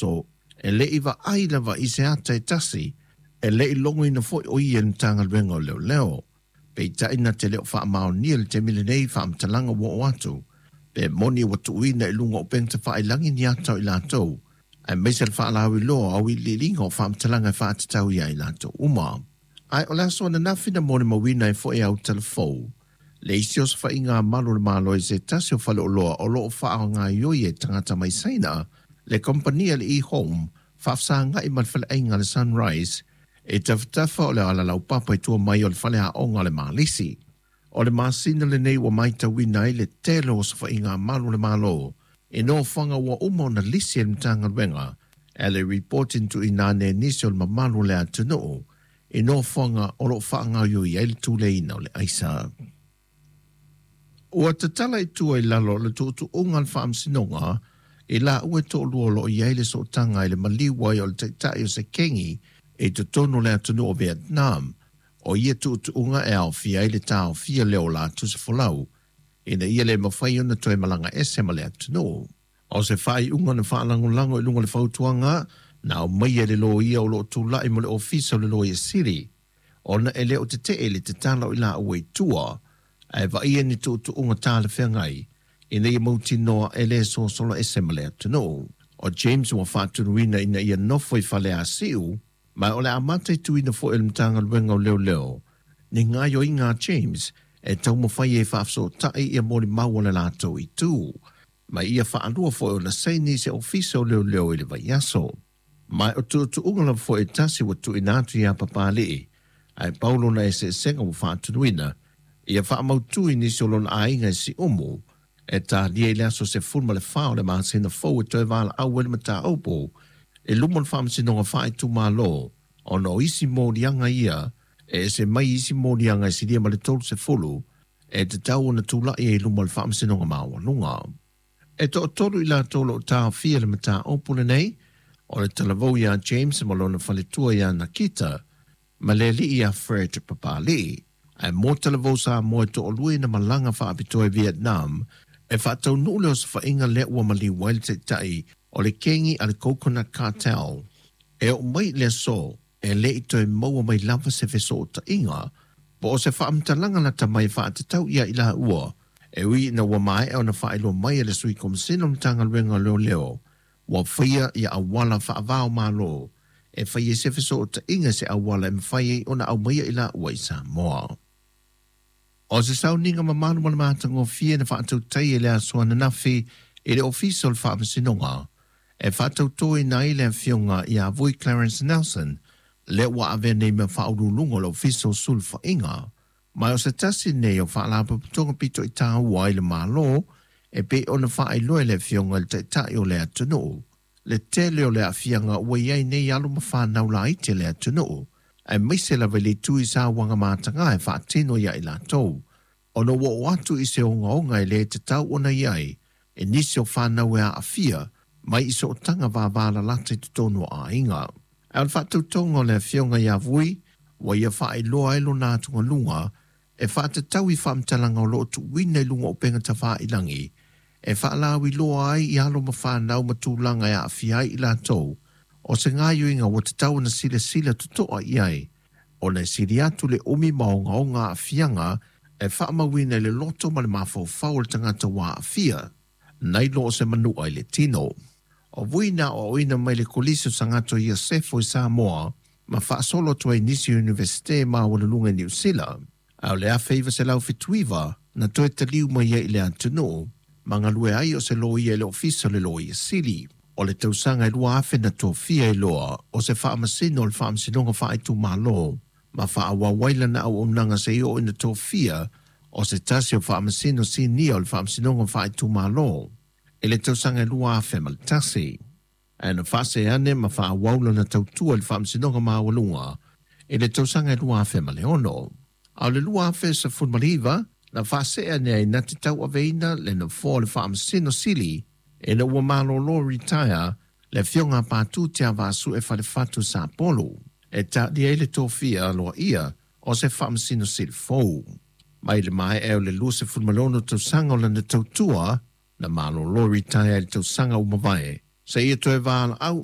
aso, e le i vaai lava i se ata e tasi, e le i logoina foi o ia i le Matagaluega o Leoleo. Peitai na te le o faamaonia i le taimi lenei faamatalaga ua oo atu, pe moni ua tuuina i luga o upega tafailagi ni ata o i latou, aemaise le faalauiloa o auiliiliga o faamatalaga e faatatau ia i latou uma. Ae o le aso ananafi na molimauina ai foi e Autalafou le isi osofaiga a malu o le Malo i se tasi o faleoloa o lo o faagaoioi e tagata mai Saina le kamupani a le E-Home faafesagai ma le faleaiga a le Sunrise i tafatafa o le ala laupapa i tua mai o le faleaoga o le Malisi. O le masina lenei ua matauina ai le tele o osofaiga a malu o le Malo i nofoaga ua uma ona lisi e le Matagaluega e le ripoti na tuuina ane e nisi o le mamalu o le atunuu i nofoaga o lo o faagaoioi ai le tuleiina o le aisa. Ua tatala i tua i lalo o le tuutuuga a le Faamasinoga i laua e toalua o lo o i ai le sootaga i le maliu ai o le taitai o se kengi i totonu o le atunuu o Vietnam. O ia tuutuuga e aofia ai le taofia lea o latou se folau ina ia le mafai ona toe malaga ese ma le atunuu. O se faaiuga na faalagolago i luga o le fautuaga na aumaia e le loia o lo o tulai mo le Ofisa o le Loia Sili, ona e le o tetee le tatala o i laua i tua, ae vaaia ni tuutuuga talafeagai ina ia mautinoa e le sosolo ese ma le atunuu. O James ua faatunuina ina ia nofo i Faleasiu, ma o le a mataituina foi e le Matagaluega o Leoleo ni gaoioiga a James e taumafai ai e faafesootai ia molimau a le latou itu, ma ia faalua foi ona saini i se ofisa o leoleo i le vaiaso. Ma o tuutuuga lava foi e tasi ua tuuina atu ia Papalii, ae pau lona eseesega ua faatunuina ia faamautu i nisi o lona aiga i Siumu, e talia i le aso 14 o le masina fou e toe valaau ai le mataupu i luma o le Faamasinoga Faaitumalo, ona o isi moliaga ia e ese mai i isi moliaga e silia ma le 30 e tatau ona tulai ai i luma o le Faamasinoga Maualuga. E toatolu i latou o lo o taofia i le mataupu lenei, o le talavou ia James ma lona faletua ia Nakita, ma le alii ia Fred Papalii. Ae mo talavou Samoa e toalua ina malaga faapitoa i Vietnam e faataunuu le osofaiga lea ua maliu ai le taitai o le kengi a le Coconut Cartel. E oo mai i le aso, e le i toe maua mai lava se fesootaiga po o se faamatalaga lata mai e faatatau ia i laua, e ui ina ua maea ona faailoa mai e le Sui Komisena o le Matagaluega o Leoleo ua faia ia auala faava-o-Malo e fai ai se fesootaiga i se auala e mafai ai ona aumaia i laua i Samoa. O se sauniga mamalu ma le matagofie na faatautai e le aso ananafi i le Ofisa o le Faamasinoga e faatautoina ai le Afioga ia Vui Clarence Nelson, lea ua avea nei ma Faauluuluga o le Ofisa o Sulufaiga. Ma o se tasi nei o faalapotopotoga pito i tāua ai le Malo e pei ona faailoa e le Afioga i le Taitai o le atunuu le tele o le aafiaga ua i ai nei alo ma fanau laiti a le atunuu, aemaise lava i le itu i sauaga mataga e faatino ia i latou, ona ua oo atu i se ogaoga e le tatau ona i ai e nisi o fanau e aafia mai i sootaga vavalalata i totonu o aiga. Ae o le faatautoga o le Afioga ia Vui, ua ia faailoa ai lona atugaluga e faatatau i faamatalaga o lo o tuuina i luga o upega tafailagi e faalauiloa ai i alo ma fanau ma tulaga e aafia ai i latou, o se gaoioiga ua tatau ona silasila totoa i ai, ona e sili atu le umi ma ogaoga aafiaga e faamauina i le loto ma le mafaufau o le tagata ua aafia, nai lo o se manua i le tino. O Vui na aoaoina mai le Kolisi o Sagato Iosefo i Samoa ma faasolo atu ai i nisi o Iunivesite maualuluga i Niu Sila. A o le 1979 na toe taliu mai ai i le atunuu ma galue ai o se loia i le Ofisa o le Loia Sili. O le tausaga e 2000 na tofia ai loa o se faamasino o le Faamasinoga Faaitumalo ma faaauau ai lana auaunaga seia oo ina tofia o se tasi o faamasino sinia o le Faamasinoga Faaitumalo i le tausaga e 2001. Ae na faasee ane ma faaauau lana tautua i le Faamasinoga Maualuga i le tausaga e 2006. A o le 2019, na faasee ane ai na te tauaveina le nofoa o le Faamasino Sili ina ua malolo, retire, le Afioga a Patu Tiavaasue Falefatu Sapolu, e talia ai le tofia aloaia o se Faamasino Sili fou. Mai le maea o le 26 tausaga o lana tautua, na malolo, retire, i le tausaga ua mavae, seia toe valaau